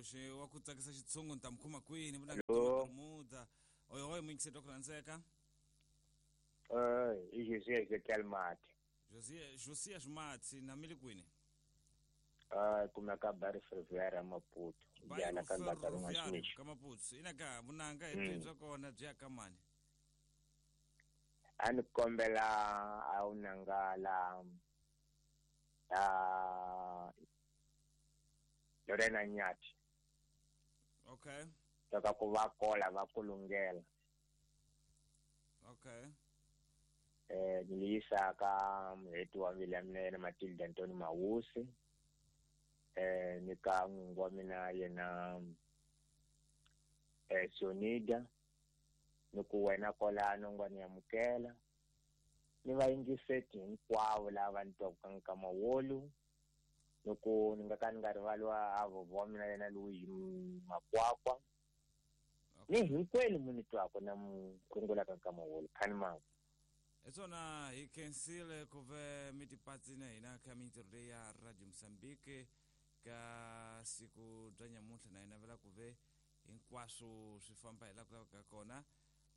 Xitsundzuxi wa ku tsakisa xitshungu ni ta mi khoma kwini vunanga Hello. Bermuda. Oyohoy muyingiseti wa ku rhandzeka. I Josias Ezekiel Mati. Josias Mati na mi le kwini? Kumeka Barry Ferroviário Maputo. Yana ka Ndaka Ferroviário ka Maputo. Ina ka vunanga hi byi bya kona byi ya ka mani? A ni kombela a wu nanga la Lorena Nyathi. Okay. Loko ku va kola va kulungela. Okay. Ni yisa ka muheti wa mbilu ya mina yena Matilda Ntoni Mawusi. Ni ka n'wingi wa mina yena Sonida. Ni ku wena kolano nga ni amukela. Ni vayingiseti hinkwavo lava ni twaka nkama wolu. Ni ku ni nga ka ni nga rivali wa vovho wa mina yena Louis Makwakwa. Ni hinkwenu mu ni twaka na mu rungulaka nkama wolu. Khani mama. Hi swona hi khensile ku ve mi tipatsi na hina ka mintirho leyi ya Radio Mozambique ka siku bya nyamuntlha na hi navela ku ve hinkwaswo swi famba hi laha ku lavekaka kona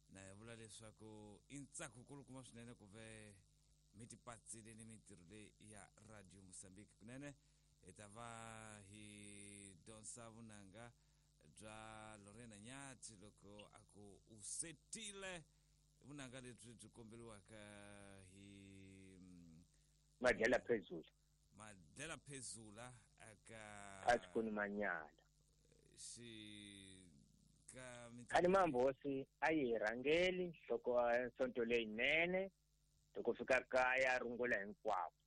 na hi vula leswaku i ntsako kulukumba swinene ku ve mi tipatsile ni mintirho leyi ya Radio Mozambique kunene hi ta va hi dyondza vunanga bya Lorena Nyathi loko a ku u setile vunanga lebyi byi komberiwaka hi Madlela Phezula. Madlela Phezula aka Phasikuni Manyala. Xi ka Khani Mambosi a yi rhangeli nhloko sonto leyinene loko fika kaya rungula hinkwako.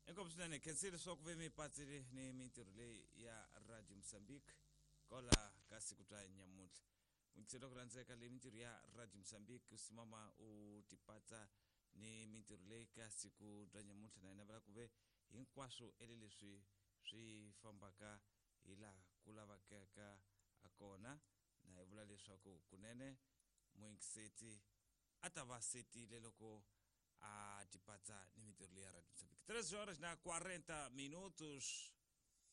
Inkomu swinene khensile leswaku ve mi patsile ni mintirho leyi ya Radio Mozambique kola ka siku bya nyamuntlha. Muyingiseri wa ku rhandzeka leyi mintirho ya Radio Mozambique u simama u tipatsa ni mintirho leyi ka siku bya nyamuntlha na hina vula ku ve hinkwaswo ele leswi swi fambaka hi laha ku lavekaka a kona na hi vula leswaku kunene muyingiseti a ta va setile loko a tipatsa ni mintirho leyi ya Radio Mozambique. 3 horas na 40 minutos.